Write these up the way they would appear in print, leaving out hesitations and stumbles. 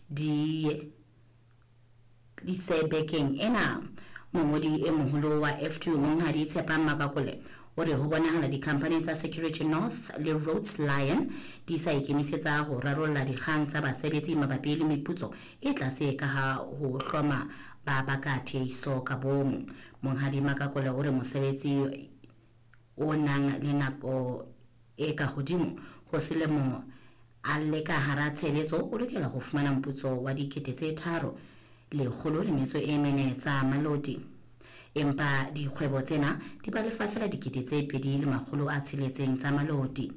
di tlise bekeng ena. Mongodi e moholo wa F2 Monghadi Tshepang Makakole o re ho bonahala dikhamphani tsa Security North le Rhodes Lion di sa ikemisetsa ho rarolla dikgang tsa basebetsi mabapi le meputso e tlase ka ha ho hloma ba baka tiehiso ka bomo. Monghadi Makakole o re mosebetsi o nang le nako e ka hodimo ho selemo a le ka hara tshebetso o lokela ho fumana moputso wa 3,104 tsa maloti. Empa dikgwebo tsena di ba lefa fela 2,600 tsa maloti.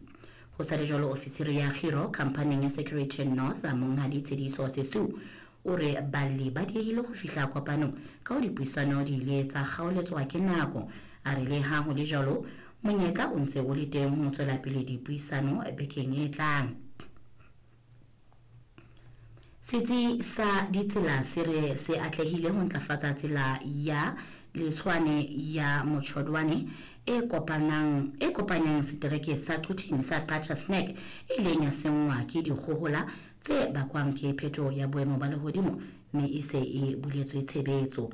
Ho sa le jwalo, ofisiri ya kgiro khamphaning ya Security North Monghadi Tshediso Sesiu o re balli ba diehile ho fihla kopanong ka ho dipuisano di ile tsa kgaoletswa ke nako. A re le ha ho le jwalo, monyetla o ntse o le teng ho tswela pele dipuisano bekeng e tlang. Setsi sa ditsela se re se atlehile ho ntlafatsa tsela ya Letshwane ya Motjhodwane e kopanyang setereke sa Quthing sa Qacha's Nek e ileng ya senngwa ke dikgohola tse bakwang ke phetoho ya boemo ba lehodimo mme e se e buletswe tshebetso.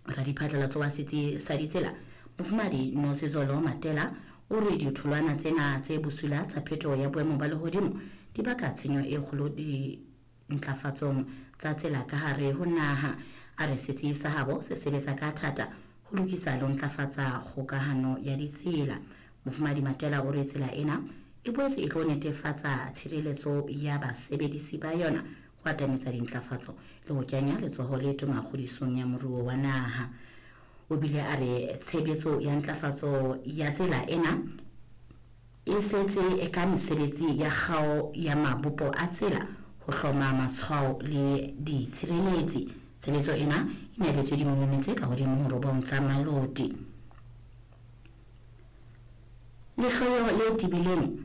Radiphatlalatso wa setsi sa ditsela Mofumahadi Nosizolo Matela o re ditholwana tsena tse bosula tsa phetoho ya boemo ba lehodimo di baka tshenyo e kgolo dintlafatsong tsa tsela ka hare ho naha. A re setsi sa habo se sebetsa ka thata ho lokisa le ho ntlafatsa kgokahano ya ditsela. Mofumahadi Matela o re tsela ena e boetse e tlo netefatsa tshireletso ya basebedisi ba yona, ho atametsa dintlafatso le ho kenya letsoho le toma kgodisong ya moruo wa naha. O bile a re tshebetso ya ntlafatso ya tsela ena e setse ka mesebetsi ya kgao ya mabopo a tsela, ho hloma matshwao le ditshireletsi. Tshebetso ena e nyabetswe dimilione tse ka hodimo ho 9 tsa maloti. Lehloyo le tebileng